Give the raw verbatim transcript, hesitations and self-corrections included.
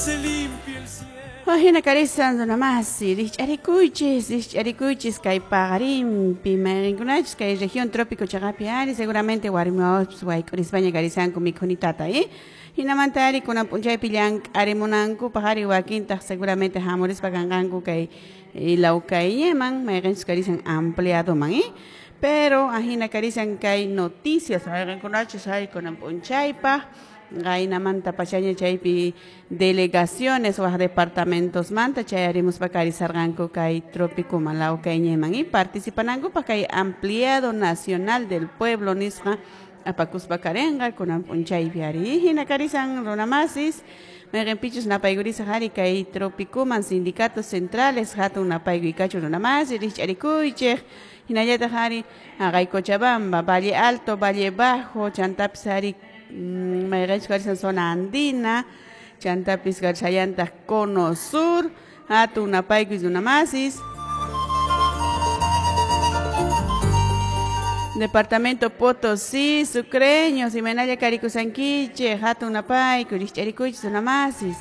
Se limpie el cielo. Hina karisan runamasi, rikch'arikuychis, rikch'arikuychis kay paqarinpi, mayqinkunachus kay región trópico chaqapi ari, seguramente warmi wawaspis wayk'urispaña karisanku mikhunitata, eh? Hinamanta ari kunan p'unchaypi llank'arimunankupaq ari wakintaq seguramente hamurispa kanqanku kay lawkayñaman, mayqinchus karisan ampliadoman, eh? Pero ahina karisan kay noticias mayqinkunachus ari kunan p'unchaypaq qaynamanta pachaña chaypi delegaciones waq departamentos manta chayarimuspa karisarqanku kay trópicoman lawkayñiman y participanankupaq kay ampliado nacional del pueblo nisqa apakuspa karinqa kunan p'unchaypi ari hina karisan runamasis mayqinpichus napaykurisaq ari kay trópicoman sindicatos centrales hatun napaykuykachun runamasi rikch'arikuychik hinallataq ari haqay Cochabamba, Valle Alto, Valle Bajo, chantapis ari mayqinchus karisan zona andina, chantapis karishallantaq cono sur, hatun napaykuy runamasis. Departamento Potosí, Sucreños, Imenaya Karikusanquiche, hatun napaykuy, rikch'arikuychis runamasis.